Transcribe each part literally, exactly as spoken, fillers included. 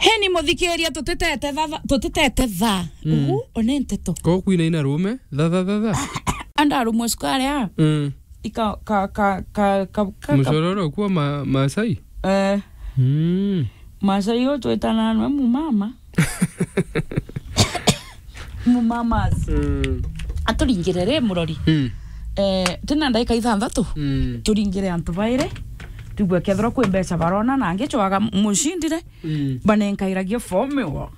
Heni muthikiria, tutitete thatha, tutitete tha. Mm. Ugu, one nteto. Ko kwina ina rume, thatha, thatha. Anda rume sukari a. Mm. Ika, ka, ka, ka, ka, ka, ka. Mucororo kwa ma-, Masai? Eh. Mm. Masai yo twetana nwe mumama. Mumamas. Mm. Aturingire ri murori. Mm. Eh, tena ndaika ithanthatu. Mm. Turingire antu bairi. Tugwe kethirwa kwi mbeca barona na angi cwaga mucindire. Mm. Banenkairagia formula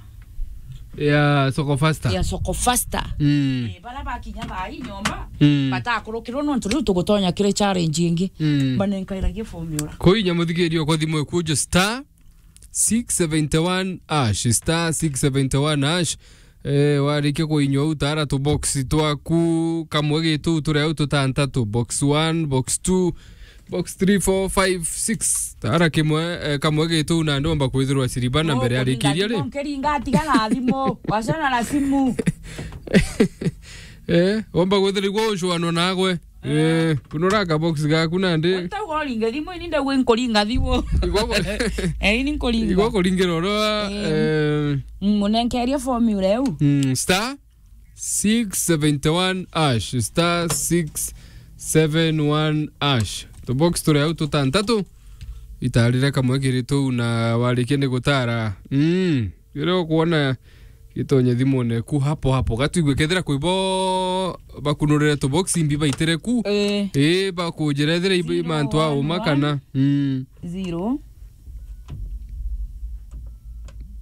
ya Soko Faster. Ya Soko Faster. Mm. Eh, bara bakinya thaa ii nyomba, mm, batakurukirwo nontu riu tugutonya kiri challenge ingi. Mm. Banenkairagia formula. Kuinya muthikiria kwa thimu ikujo star six seventy one hash, star six seventy one hash. Eh, warikia kuinywa u tara tu box twaku, kamwe gitu turi au tutantatu, box one, box two, box three, four, five, six. Tara kimwe, eh, kamwe gitu na ndomba kwithirwa siriba na mbere arikiria ri. Nkiringa tiga na thimu, wacana na simu. Eh, omba kwithirwa igwa ucwano nagwe. Eh, kunura ka box gaku nandi. Utauga uringe thimu, ini ndauga inkuringa thimu. Igwa ku-, eh, ini nkuringa. Igwa kuringira oro, eh, eh, mm, munenkerie formula eu. Mm, star six seventy one hash, star six seven one hash. Tu box turi au tutantatu. Itarire kamwe kiri tuu na warikia ni gutara. Mm, riria ukuona gitonye thimune ku hapo hapo. Gatwigwe kethira kwi bo bakunurire tu box imbi baitire ku. Eh. Eh, bakunjira ethira ibi mantu a uma kana. Mm. Zero one one.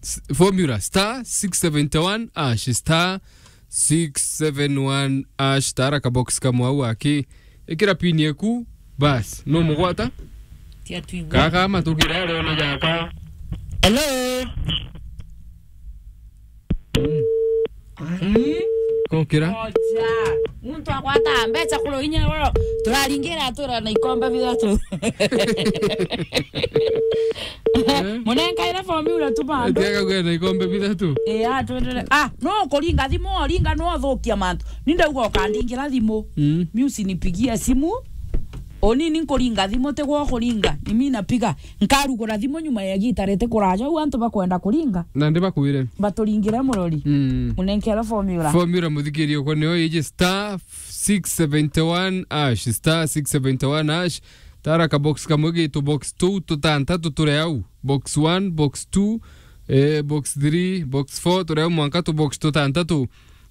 S-, formula star six seventy one hash, star six seven one hash, tara ka box kamwe au aki. Ikira pin yeku, bas, no mugwata. Tia twigua. Kaka matukira leo na jaka. Hello. Mm. Mm. Kokira. Oja. Muntu agwata mbeca kuro inya oro. Turaringira atura na ikombe bithatu. Eh? Munenkaire formula tu bandu. Etiaga kwenda ikombe bithatu. Eh, ah, twendere. Ah, no kuringa thimu, oringa no uthukia mantu. Ni ndauga ukandingira thimu. Mm. Mi usinipigie simu. Oni ni nkuringa thimu, tigwa ukuringa. Ni mi napiga. Nkarugura thimu nyuma ya gita riti kuraja. U antu bakwenda kuringa. Na ndi bakwire. Baturingire murori. Mm. Munenkere formula. Formula muthikirie kwa nio iji star six seventy one hash, star six seventy one hash. Tara ka box kamwe gitu box two tutantatu turi au. Box one, box two, eh, box three, box four, turi au mwanka tu box tutantatu.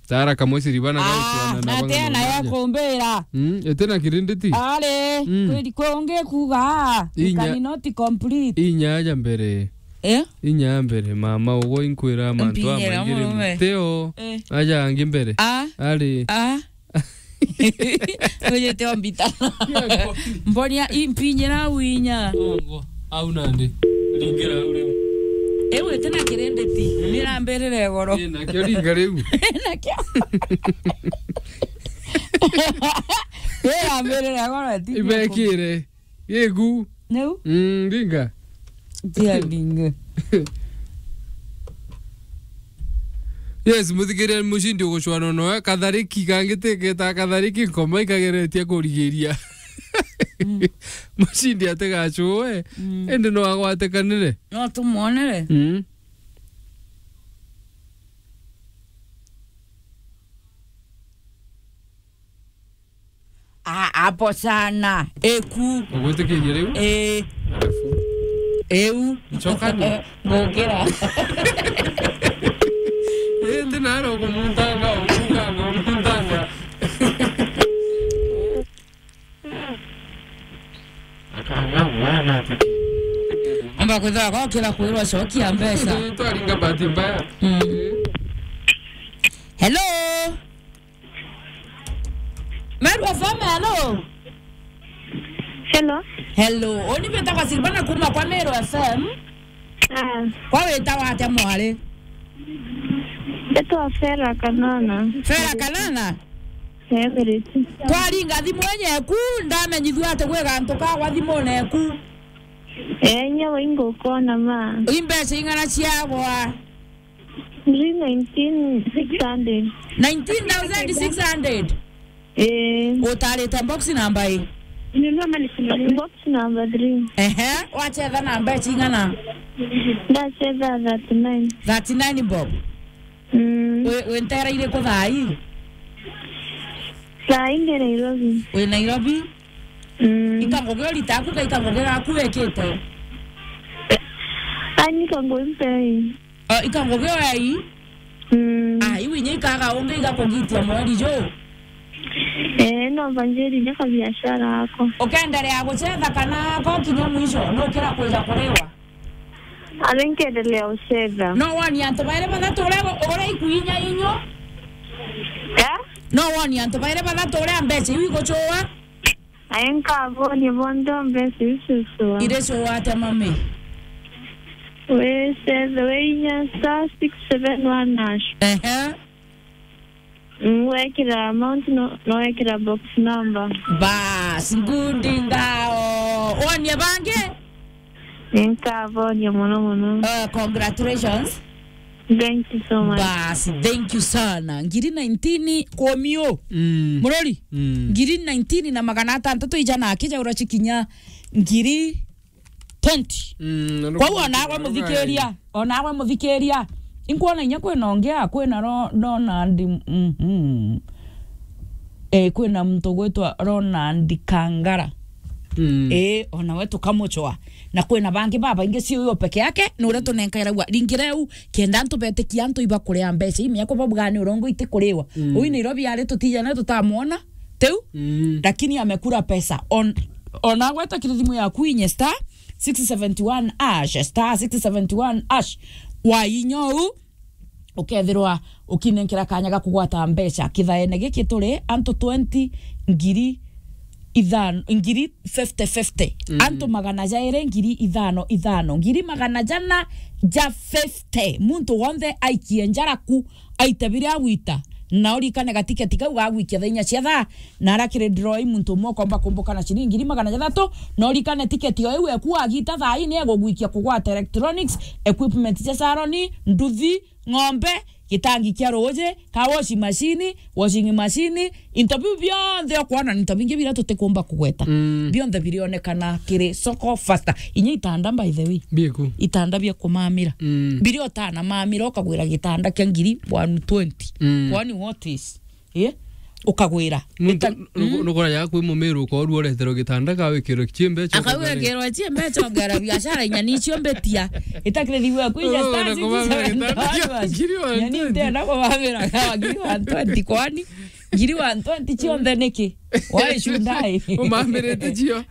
Tara kamwe siribana. Ah, gauciana na na banga tena ya mwananya. Kumbira. Mm, etena kirinditi. Ari, mm, kweli kungi kuga, inya, can not complete. Inya ya mbere. Eh? Inya ya mbere, mama, ugo inkwira mantu. Mpinyera amaingire murume. Muteo. Eh. Aja angi mbere. Ah. Ari. Ah. Kujete ombita. Mbonia impinyira winya. Ongo. Au nandi. Ringira au riu. Ewe tena kirinditi. Nirambirire goro. Ina kio ringa riu. Nakio. Nirambirire goro ati. Ibekire. Giku. Neu? Mm, ringa. Tia ringa. Yes, muthikiria mucindi ugucwana noe. Kathariki kangi tiketa kathariki nkoma ikageretie kurigiria. Mm. Mucindi atigacue. Mm. Indi no agwatikanire. No tumwonere. Mm. A-, hapo sana. Eku. Ugwitikirie riu? Eh. Alafu? Eu. Ncoka ni? Ngukira. Eh, ndi naro kumuntanga, umuntanga, umuntanga. Akanga mwana ati. Amba kwithira gokira kwirwa cokia mbeca. Ndi twaringa bahati mbaya. Mm. Eh. Hello? Meru F M, hello. Hello. Hello. Oni mbitagwa Silvana kuma kwa Meru F M. Ah. Kwa witagwa atia mwari? Mbitagwa Fera Kanana. Fera Kanana? Everett. Twaringa thimu enyeku, ndamenyithua ati gwi gantu kagwa thimune eku. Eh, nyewe ingukona ma. Imbeca ing'ana ciagwa? Three nineteen six hundred. Nineteen thousand six hundred? Eh. Utarite box number i? Box number three. Ehe, wachetha na mbeca ing'ana? Ndacetha thirty-nine. Thirty-nine bob. Mm. Wi, wi ntera iriku thaa ii? Thaa ii ndi Nairobi. Wi Nairobi? Mm. Ikangugi urita aku ka ikangugi gaku wikite? Ani kangu mpei. O, ikangugi oya ii? Mm. Ah, iu inya ikaga ungi igakugitia mweri ju? Eh, no mbanjiririe kabiashara ako. Ukenderea gucetha kana ko kinya mwisho, nukira kwija kuriwa? Ari nkendelea gucetha. No woni antu bairi bathatu uria, uria ikuinya inyo? Eh? No woni antu bairi bathatu uria mbeca iu igucua? Ai nkaboni bonthe mbeca iu cicua. Iri cua atia mami? Wicethe, wiinya star six seven one hash. Ehe. Mm, wekira amount, no, no wekira box number. Bas, ngundi ngao. Wonie bangi? Ninkabonia mono mono. Uh, congratulations. Thank you so much. Bas, thank you sana. Ngiri nineteen kumio. Mm. Murori? Mm. Ngiri nineteen na magana atantatu ijana akija urachikinya ngiri twenty. Mm, na kwou nukuona onagwe muthikiria, onagwe muthikiria. Inkwona inya kwina ungi a, kwina Ro-, Ronald, mhm. Eh, kwina muntu gwitwa Ronald Kangara. Mm. Eh, ona we tukamuchwa. Na kwina bangi babaingi, si uyo peke yake, ni uria tunenkairagua. Ringi reu, kenda antu betikia antu ibakuria mbeca, imia kwa babuga ni urongo itikuriwa. Mm. Ui Nairobi ari tutijana tutamwona, tiu? Mm. Lakini amekula pesa. On, ona gweta kiri thimu yaku inye star six seventy one hash, star six seventy one hash. Wa inyo u, ukethirwa ukinenkera kanya ga kugwata mbeca. Kithaene giki turi antu twenty, ngiri ithano, ngiri fifty fifty. Mm. Antu magana jairi, ngiri ithano ithano, ngiri magana jana ja fifty. Muntu wonthe aikie njaraku, aite biria agwita, na urikane gatiketi kau gagwikia thaa inya cia thaa, na aria kiri draw i muntu umwe ukomba kumbuka na ciringi ngiri magana jathatu, na urikane tiketi o iu eku agita thaa ii ni egugwikia kugwata electronics, equipment cia salon, nduthi, ng'ombe, gitangi kia ruuji, ka washing machine, washing machine, into biu bionthe ukwona ni into bingi biria tutikumba kugweta. Mm. Bionthe birionekana kiri Soko Fasta. Inya itanda, by the way. Biku. Itanda bia kumamira. Mm. Biria utanamamira ukagwira gitanda kia ngiri one twenty. Mm. Kwani what is? Eh? Ukagwira. Muntu nuku-, nukoraja kwi mumiru ukorwa ureterwa gitanda ka wikirwe cie mbeca. Akawikirwa cie mbeca, ongera biashara inya nicio mbetia. Itakire thiwe kwija. Oh, star na kumamira six seven gitanda one. Ngiri one twenty. Yani ntenda kumamira ka ngiri one twenty kwani? Ngiri one twenty cionthe niki? Why should I? Umamirite cio.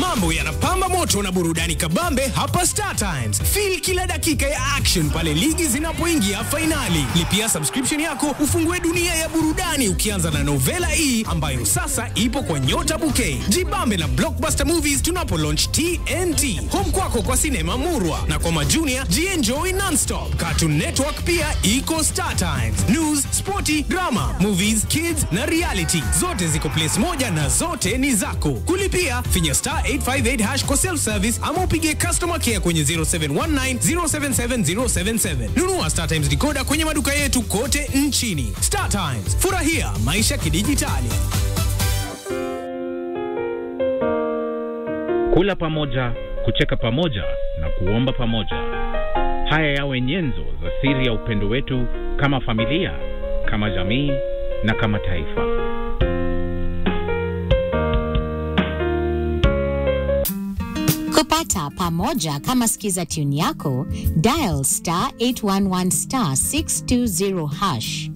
Mambo yanapamba moto na burudani kabambe hapa Star Times. Feel kila dakika ya action pale ligi zinapoingia fainali. Lipia subscription yako ufungue dunia ya burudani ukianza na Novela E ambayo sasa ipo kwa Nyota Bouquet. Jibambe na Blockbuster Movies tunapo launch T N T. Home kwako kwa sinema murwa na kwa majunia jienjoy non-stop. Cartoon Network pia iko Star Times. News, sporti, drama, movies, kids na reality. Zote ziko place moja na zote ni zako. Kulipia, finya star eight five eight hash kwa self-service ama upige customer care kwenye zero seven one nine zero seven seven zero seven seven. Nunua Star Times decoder kwenye maduka yetu kote nchini. Star Times, furahia maisha kidijitali. Kula pamoja, kucheka pamoja na kuomba pamoja. Haya yawe nyenzo za siri ya upendo wetu kama familia, kama jamii na kama taifa. Kupata pamoja kama skiza tune yako, dial star eight one one star six two zero hash.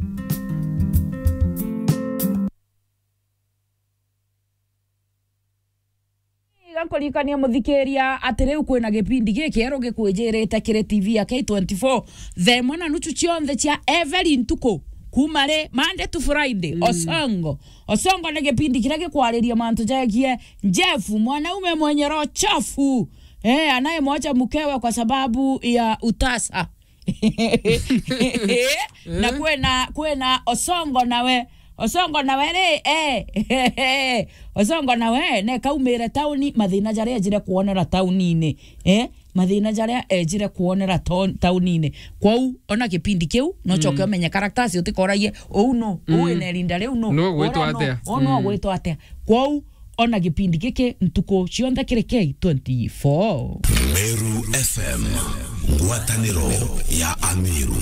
Iga nkuririkania muthikiria ati riu kwina gipindi gikieru gikwijirite kiri T V ya K twenty-four, thaa imwe na nuchu cionthe cia every ntuku, kuma ri Monday to Friday. Mm. Osongo. Osongo ni gipindi kiria gikwariria mantu jegie Jeff, mwanaume mwenye roho chafu, eh, anayemwacha mkewe kwa sababu ya utasa. Na kwena, kwena Osongo nawe. Osongo nawe ri, eh. Osongo nawe nekaumire tauni, mathina jaria ejire kuonera taunini, eh? Mathina jaria ejire kuonera taun-, taunini. Kwou ona kipindi kiu no choke, mm, umenye characters utikoragie, uu no, uu, mm, wina irinda riu no, no gwitwa atia? Uu no gwitwa atia? Kwou ona gipindi giki ntuku cionthe kiri K twenty-four. Meru F M, ngwataniro ya Ameru.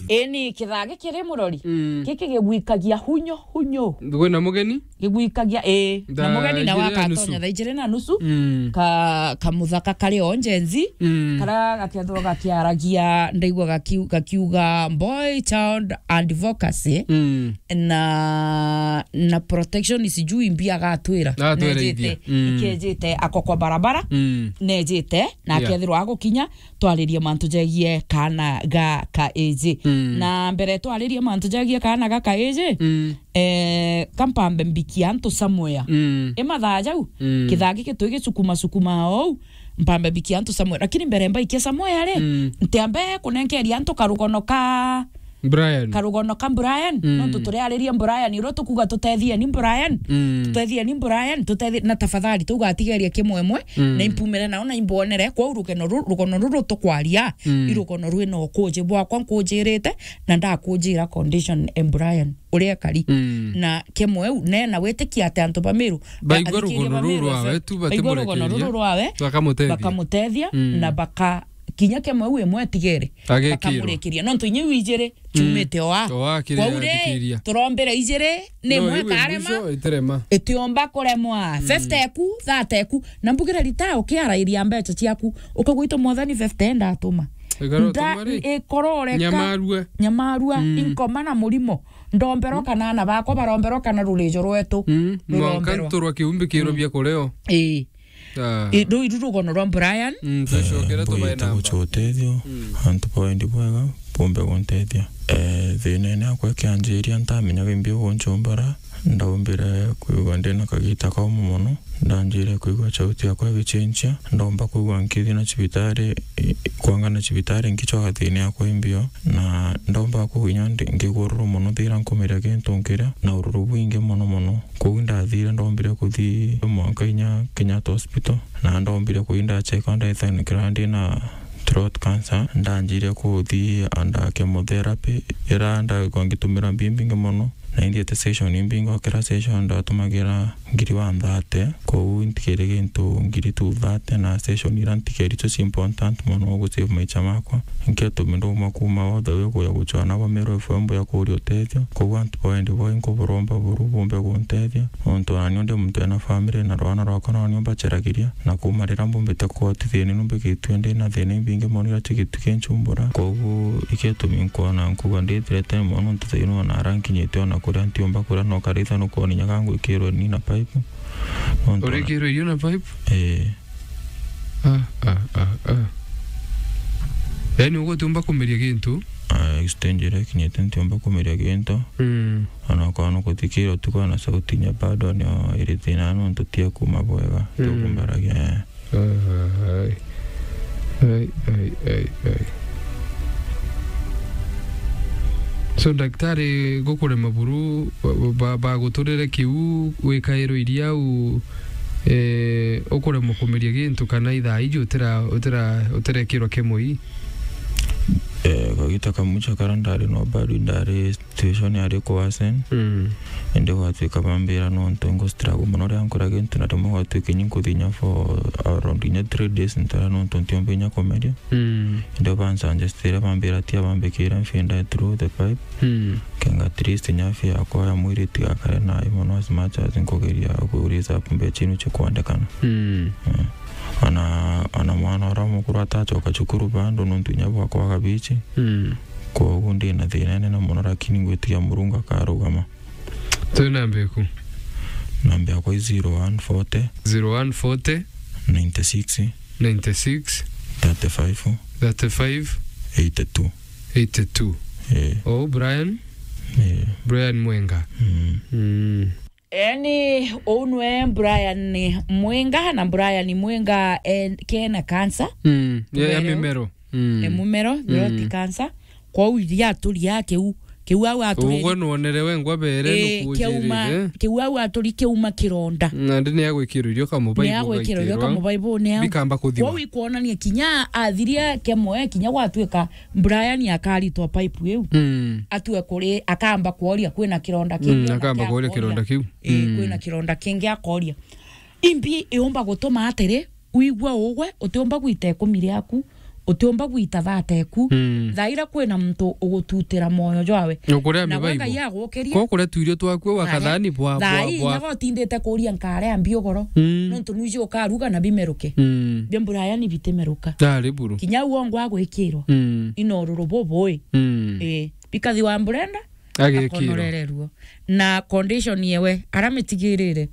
Eni kithaa gikiri murori, mm, giki gigwikagia hunyo, hunyo. Kwina mugeni? Gigwikagia, ii. Na mugeni nawe akatonya thaa ijiri na nusu. Mm. Ka, kamuthaka kari o njenzi. Mm. Kara gakethirwa gakiaragia, ndaigua gakiu-, gakiuga boy child advocacy. Mm. Na, na protection sijui mbi agatwira. Agatwira nejite, ithia. Mm. Ikejite ako kwa barabara. Mm. Nejite, na, yeah, akethirwa agukinya, twaririe mantu jegie kana ga kaiji. Mm. Na mbere twaririe mantu jegie kana ga kaiji, mm, eh, kampambe mbikia antu somewhere. Mm. I mathaa jau, mm, kithaa giki twigicukuma cukuma ou, mpambe mbikia antu somewhere. Lakini mbere mbaikia somewhere ri, mm, ntiambe kunenkeria antu karugono ka Brian. Karugono ka Brian, mm, nontu turiariria Brian, uria tukuga tutethie ni Brian. Mm. Tutethie ni Brian, tutethie na tafadhali, tugatigeria kimwemwe, mm, na impumire nao na imbonere, kwou rugeno ru-, rugono ruru tukwaria, mm, i rugono rwina ukuji bwakwa nkujirite, na ndakujira condition e Brian, uria ekari. Mm. Na kimwe u, ne na witikia ati antu ba Meru, baigua rugono ruru rwawe, tu batigua rugono ruru rwawe, bakamutethia. Bakamutethia, mm, na baka kinya kemwe u imwe atigere. Agekirwa. Bakamurikiria. Nontu inya iu ijiri, mm, ciumite oa. Oa kiri. Kwou ri, athikiria, turombire ijiri, ni no, imwe iu ikarema, mwisho itirema. Itiomba kuremwa. Mm. Fifty eku, thirty eku. Na mbugire rita ukiarairia mbeca ciaku, ukagwita mwathani fifty ndatuma. Ikaro nda-, tuma ri? Ikororeka. Nyamarua. Nyamarua, mm, inkoma na murimo. Ndomberwa, mm, kana ana bakwa baromberwa kana rurijo rwetu. Mm. Mwanka ruromberwa. Nturwa kiumbi kirobia, mm, kureo. Ii. Ah. I, ruu iru rugono rwa Brian. Mm, tucokere. Eh, tubae namba. Gucwa utethio, mm, antu ba wendi bwega, bumbe guntethia. Eh, thinene akwa kianjiria ntamenyaga imbi ugunchumbura, ndaumbire kwigua ndina kagita kaumu mono, ndanjire kwigua chauti yakwa igichinchia, ndaumba kwigua nkithi na cibitari, i, kwanga na cibitari nkichwaga thina yakwa imbio, na ndaumba kwigua inya ndi, ngigua ururu mono thira nkumiria gintu nkiria, na ururu bwingi mono mono. Kwou ndathire, ndombire kuthi mwanka inya Kenyatta Hospital, na ndombire kuthi ndachekwa, ndethanikira ndi na throat cancer. Ndanjire kuthi under chemotherapy, ira ndagikwa ngitumira mbi mbingi mono, na inthiete session imbingi, o kira session ndatumagira ngiri one thirty. Kwou ntigere gintu ngiri two thirty, na session ira ntigeri icio ci important mono gu save maicha makwa. Nketumi ndauma kuma all the way kuja guchwana bwa Meru F M ya kuria utethio. Kwou antu ba wendi bwao inkuburomba buru bumbe guntethia, nontu nani ndi muntu ena family na rwana rwakwa nani mbacheragiria, na kuma riria mbumbite kugwatithia ni numbikitue ndi na thina imbingi mono iria chigitu kinchumbura. Kwou iketumi nkwona nkuga ndithirete mono, nontu thaino ona ara nkinyite ona kuria ntiumba kuria no karitha nukwona inya gangwikirwe ni na pipe. Nontu ona urikirwe irio na pipe? Eh. Ah, ah, ah, ah. Yaani, ugutiumba kumeria gintu? Ah, stage iria ikinyite ntiumba kumeria gintu. Mm. Ona ukorwo nukuthikira utuku na sauti inya bado nio iri thina, nontu tia kuma bwega, mm, tukumbaragia, eh. Ai. Ai, ai, ai, ai. So, daktari gukurema buru, ba, ba, baguturire kiu, wikairwe iria u, eh, ukuremwa kumeria gintu, kana ithaa iji utira, utira, utirekirwa kemoi? Eh, kagita kamucha kara ndari no bado ndari situation yari kuwasen. Mm. Indi gwatuika bambira nontu ngu struggle mono ria nkura gintu, na rimwe gwatuika inya nkuthinya for around inya three days ntara nontu ntiumba inya kumeria. Mm. Indi bansuggestire, bambira tia bambikire mfinda through the pipe. Mm. Kenga at least nyafi yakwa ya mwiri itigakare nayo mono as much as nkugeria ku raise up mbecha inu chikwendekana. Mm. Eh. Ona, ona mwana uria mukuru atachoka cukuru bado nontu inya bwa kwaga bichi. Mm. Kwogu ndi na thina inene mono, lakini ngwitikia Murungu akarugama. Twi namba iku? Namba yakwa i zero one forty. Zero one forty. Ninety six. Ninety six. Thirty five. Thirty five. Eighty two. Eighty two. Eh. Oh, Brian? Eh. Brian Mwenga. Mm. Mm. Eni, uu nwe Brian Mwenga, na Brian Mwenga, eh, kena cancer. Mm. Ya, ya mimero. Mm. E mumero, mm, throat cancer. Kwou iria aturia kiu, kiu au aturi. Ugwe nwonere we ngwa bere. Eh, nukuujirire. Kiauma, kiu au aturi kiauma kironda. Nandi ni agwikirwo irio kamubaibu. Ni agwikirwo irio kamubaibu, ni au. Bikamba kuthima. Kwou ikwonania kinya athiria kemwe, kinya gwatuika Brian akaritwa pipe iu. Mm. Atue kuri, akamba kworia kwina kironda kingi. Mm, akamba kworia kironda kiu. Eh, mm, kwina kironda kingi akoria. Imbi iumba gutuma atiri, wigua ugwe, utiumba gwita ikumi riaku, utiumba gwita thate eku. Mm. Thaa iria kwina muntu ugututira moyo jwawe. Ukuria na gwe mibaibu. Ngai agukirie. Ko kuria tuirio twaku wa kathani bwa, thaa bwa, ii bwa. Nyaga utindite kuria nkare ambi ugoro. Mm. Nontu nwiji ukaruga na bimeruke. Mm. Bia Brian bitimeruka. Ari buru. Kinya uo ngwa gwikirwa. Mm. Ina ururu bubui. Mm. Ii. Bikathi wa mburenda. Agekirwa. Akonorereruo. Na condition yewe, aramitigirire.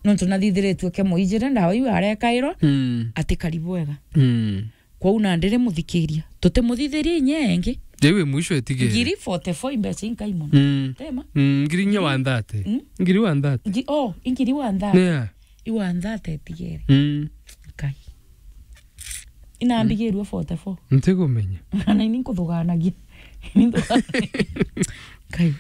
Nontu nathithiritue ke muijire ndawa iu arekairwa, mm, atikari bwega. Mm. Kwou nandi rimuthikiria. Tutimuthithirie inya ingi. Riu wi mwisho etigire. Ngiri forty-four imbeca inkai mono. Mm. Tema? Mm, ngiri inya one thirty. Mm? Ngiri one thirty. Ngi-, oh, ingiri one thirty. Yeah. I one thirty etigire. Mm. Nkai. Inambigirue forty-four. Ntikumenya. Na ini nkuthuganagia. Nkai.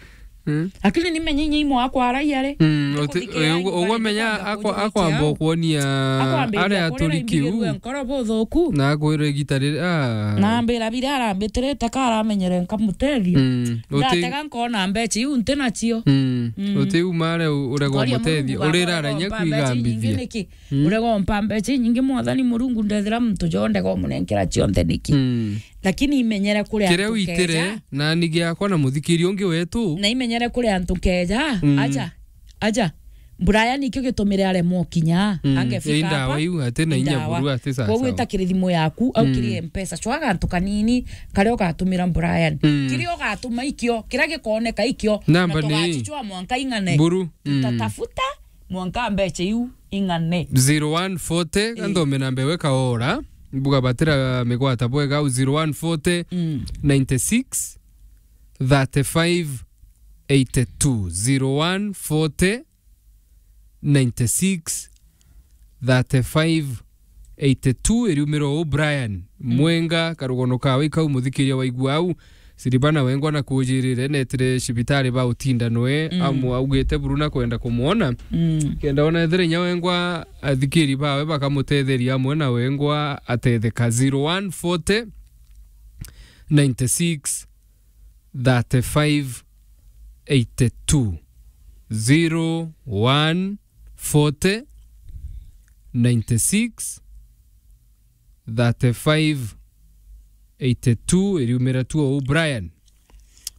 Mm. Lakini nimenye inya imwe akwa araia ri. Mm, uti-, nikuthikira ugu-, imwe ugwamenya nikaenda akwa-, kunjurikia akwamba au. Ukwonia akwambiriria aria kurira aturi kiu. Imbigirue nkoro buthuku. Na akwira igita riri, ah. Na ambira biria arambitirite ka aramenyere nkamutethia. Mm, uti- ndatega nkona mbeca iu nti nacio. Mm, mm. Utiuma aria u-, urega umutethia. Urira arenya kwigambithia. Niki? Mm. Urega umpa mbeca inyingi, Mwathani Murungu, ndethira muntu jo ndega umunenkera cionthe niki? Mm. Lakini imenyere kuri antu keja. Kiria witire, na ni giakwa na muthikiri ungi wetu. Na imenyere kuri antu keja, mm, aja, aja. Brian nikio gitumire aremwo kinya, mm, angefika ii ndawa hapa, iu, ati na inya ndawa. Buru, ati sasa. Koguo ita kiri thimu yaku, au kiri, mm, M-Pesa. Cwaga antu kanini, karia ugatumira Brian. Mm. Kiria ugatuma ikio, kiria gikooneka ikio, namba na ni tugachicwa mwanka ing'ane. Buru. Mm. Tutatafuta mwanka mbeca iu ing'ane. Zero one forty, eh, ganthome namba iwe kaora. Mbuga batira migwata bwega au zero one forty, mm, ninety-six, thirty-five, eighty-two. Zero one forty, ninety-six, thirty-five, eighty-two, iriumira u Brian, mm, Mwenga, karugono kawe ikau muthikiria waigua au, Siribana wengwa na kujirire netire cibitari ba utinda nwe, mm, amu augite buru na kwenda kumwona. Mm. Kenda ona ethire inya wengwa athikiri bawe bakamutetheria amwe na wengwa atetheka. Zero one forty, ninety-six, thirty-five, eighty-two. Zero one forty, ninety-six, thirty-five, eighty-two, iriumira tu o Brian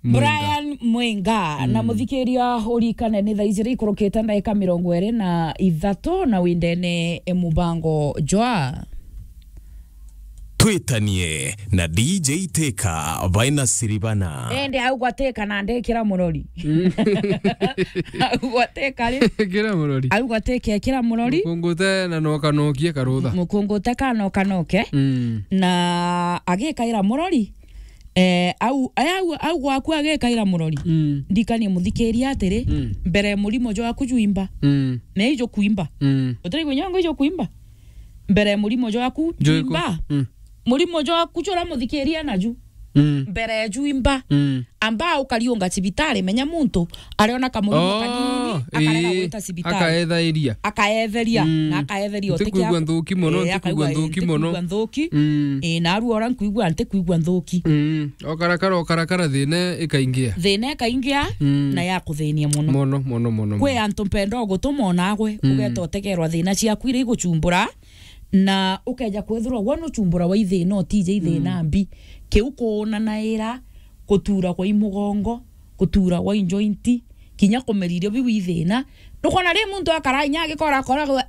Mwenga. Brian Mwenga, na, mm, muthikiria urikane ni thaa ijiri ikurukite ndaika mirongo iri na ithatu na windene e mubango jwa Twitanie na D J Teka, Vaina Siribana. Ende au gwateka na ndekira murori. Mm. Au gwateka ri? Kira murori. Au gwateka kira murori. Mukungute na noka nokie karutha. Mukungute ka noka noke. Mm. Na agikaira murori. Eh, au, au, au gwaku agikaira murori. Mm. Ndikanie muthikiria atiri, mm, mbere murimo jwaku jwimba. Mm. Na ijo kuimba. Mm. Utari kunyongo ijo kuimba. Mbere murimo jwaku jwimba. Mm. Murimo jwaku jura muthikiria naju. Mm. Mbere jwimba. Mm. Amba ukariunga cibitari, menya muntu ariona kamurimo, oh, kanini, akarega, ii, gwita cibitari. Akaethairia. Akaetheria, mm, na akaetheria. Ntikwigua utiki nthuki mono, eh, ntikwigua akaigua, nthuki mono. Ntikwigua nthuki. Mm. Eh, na aru ora nkwigua, ntikwigua nthuki. Mm. Okarakara, okarakara, thina ikaingia. Thina ikaingia, mm, na yakuthinia mono. Mono, mono, mono, kwi mono. Antu mpenda ugutuma onagwe, mm, ugeta utegerwa thina ciaku iria igucumbura, na ukeja kwethirwa gwe nucumbura wa ithina, utije ithina, mm, mbi. Kiu kuunanaira, kutura kwa imugongo, kutura gwa injointi, kinya kumeririo biu ithina. Nukona ri muntu akara inya agikora akora gwe,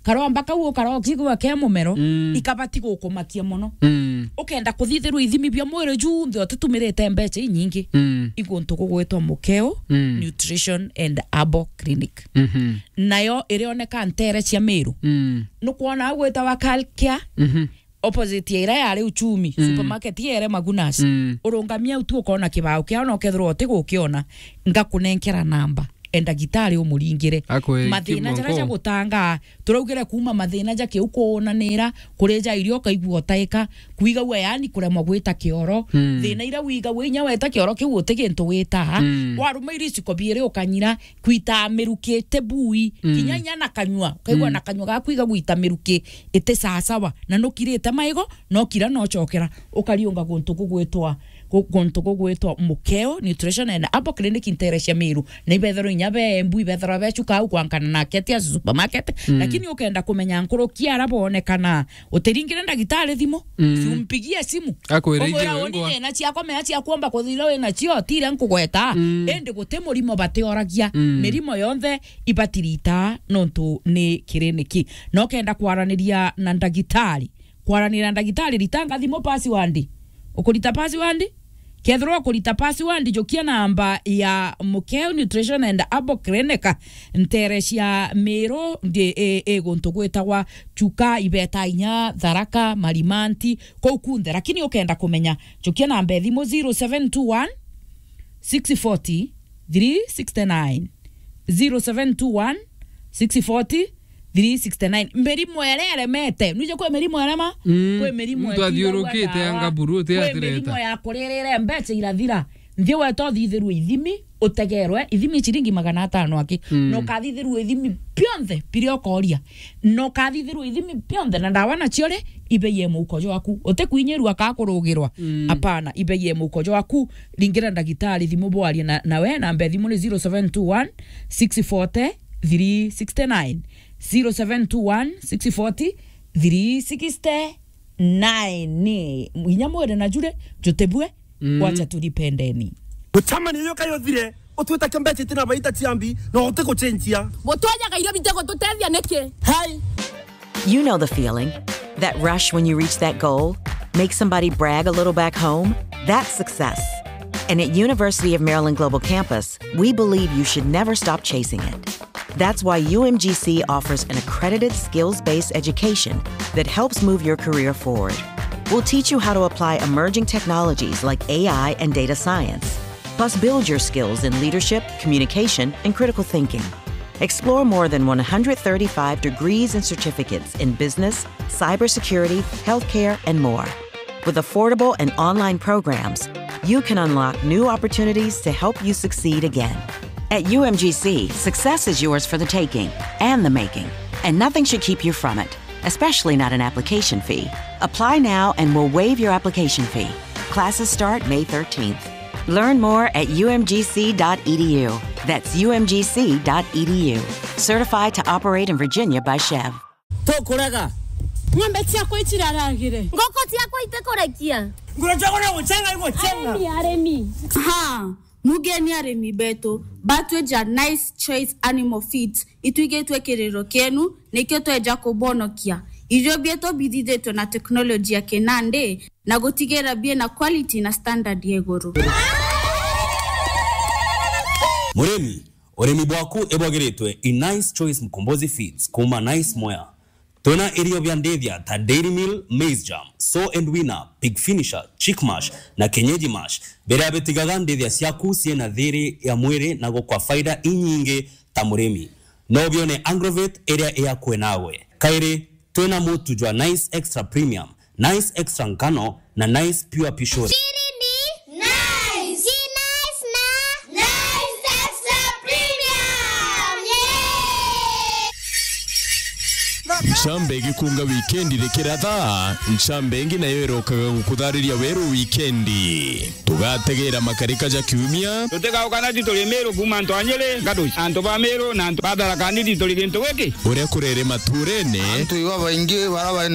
karomba kau ukara ukigwa ke mumero, mm, ikabati gukumakia mono. Mm. Ukenda kuthithirwa ithimi bia mwiri junthe utitumirite mbeca inyingi. Mm. Iguntu gugwitwa Mukeo, mm, Nutrition and Herbal Clinic. Mhm. Nayo irioneka ntere cia Meru. Mm. Nukwona au gwitawa Calcare, mhm, opposite ya ira yari Uchumi, mm, supermarket ya ere Magunas. Mm. Urungamia au tu ukona kibao kiao na ukethirwa uti gukiona, ngakunenkera namba. E ndagitari umuringire. Akwe mathina jaria jagutangaa, turaugire kuma mathina ja kiu kuunanira, kuria ja irio ukaigua utaika, kwigagua yani kuremwa gwita kioro. Mm. Thina iria wigagua inya weta kioro kiu uti gintu witaga. Mm. Waruma iriciko biiri ukanyira, kwita miruki iti bui, mm, kinya inya na kanyua, ukaigua, mm, na kanyua gaku igagwita miruki iti sawasawa, na nukirite maigo, no kira no cokera, ukariunga guntu gugwitwa ku-, guntu gugwitwa Mukeo Nutrition and Herbal Clinic ntere cia Meru. Na ibethirwa inya be Embu, ibethirwa be Chuka au kwankana na Ketia supermarket. Mm. Lakini ukenda kumenya nkuruki ara bonekana, utiringire ndagitari thimu, mm, si umpigie simu. Akwire umwira, iji "Uni wengwa." Nina ciakwa mea cia kuomba kuthira wina cio, tire nkugweta. Mm. Indi guti murimo batioragia. Mm. Mirimo yonthe ibatirita nontu ni kiriniki. No kenda kwaraniria na ndagitari, kwaraniria na ndagitari, ritanga thimu password. Ukurita password? Kethirwa ukurita password, jukia namba ya Mukeo Nutrition and Herbal Clinic, ntere cia Meru, ndi, i, i guntu gwitagwa Chuka, ibeta inya Tharaka, Marimanti, kuu kunthe. Lakini ukenda kumenya, jukia namba ya thimu zero seven two one, six forty, three sixty nine. Zero seven two one, six forty, three sixty nine. Mirimo iria iremete. Nwije kwi mirimo irema? Mm. Kwi mirimo muntu itiraua athiurukite ndawa. Anga buru uti kwi atireta. Mirimo ya kuririre mbeca irathira. Nthi weta uthithirwe ithimi, utegerwe ithimi ciringi magana atano aki. Mm. Na ukathithirwe ithimi bionthe biria ukoria. Na ukathithirwa ithimi bionthe na ndawa nacio ri, ibeiye muhuko jwaku. Utikwinyirua kaa kurugirwa. Mm. Apana, ibeiye muhuko jwaku. Ringira ndagitari thimu bwarie na, nawe, namba ya thimu ni zero seven two one, six forty, three sixty nine. Zero seven two one, six forty, three sixty nine. Ni inya mwire na jure, jutebue, mm, wacha tulipendeni. Gucamania iyo kayo thire, utwita kia mbeca itina baita ciambi, na utikucenjia. Gutwajaga irio bitegututethia niki? Hai. You know the feeling. That rush when you reach that goal? Make somebody brag a little back home? That's success. And at University of Maryland Global Campus, we believe you should never stop chasing it. That's why U M G C offers an accredited skills-based education that helps move your career forward. We'll teach you how to apply emerging technologies like A I and data science. Plus, build your skills in leadership, communication, and critical thinking. Explore more than one hundred thirty-five degrees and certificates in business, cybersecurity, healthcare, and more. With affordable and online programs, you can unlock new opportunities to help you succeed again. At U M G C, success is yours for the taking and the making, and nothing should keep you from it, especially not an application fee. Apply now and we'll waive your application fee. Classes start May thirteenth. Learn more at U M G C dot E D U. That's U M G C dot E D U. Certified to operate in Virginia by Chev. Tukurega. Ng'ombe ciakwa iciraragire. Ngoko ciakwa itikurekia. Nguru ciakwa ni gucenga igucenga. Arimi, arimi. Ha, mugeni arimi betu, batwija Nice Choice Animal Feeds, itwigitwe kiriro kienu, nikio tweja kubonokia. Irio bietu bithithitwe na teknoloji ya kinandi, na gutigira biena quality na standard ya iguru. Murimi, urimi bwaku ibwagiritwe i Nice Choice Mkombozi Feeds kuuma Nice Mwea. Twina irio bia ndithia ta Dairy Meal, Maize Germ, Sow and Weaner, Pig Finisher, Chick Mash na Kienyeji Mash, biria bitigaga ndithia ciaku ciina thiri ya mwiri na gukwa faida inyingi ta murimi. No bione Agrovet iria i akui nawe. Kairi, twina mutu jwa Nice Extra Premium, Nice Extra Nkano na Nice Pure Pishori. Ciri ni Nice. Ci Nice na Nice Extra Premium. Yay! Ncamba igikunga wikendi rikiratha, ncamba ingi nayo irokaga gukuthariria weru wikendi. Tugategera makarika ja kiumia. Tutigaukana ti turi Miru kuuma antu a Nyiri, Ngatuci, antu ba Miru na antu ba Tharaka Nithi turi gintu giki. Uria kurere maturene. Antu iba baingi bara bari na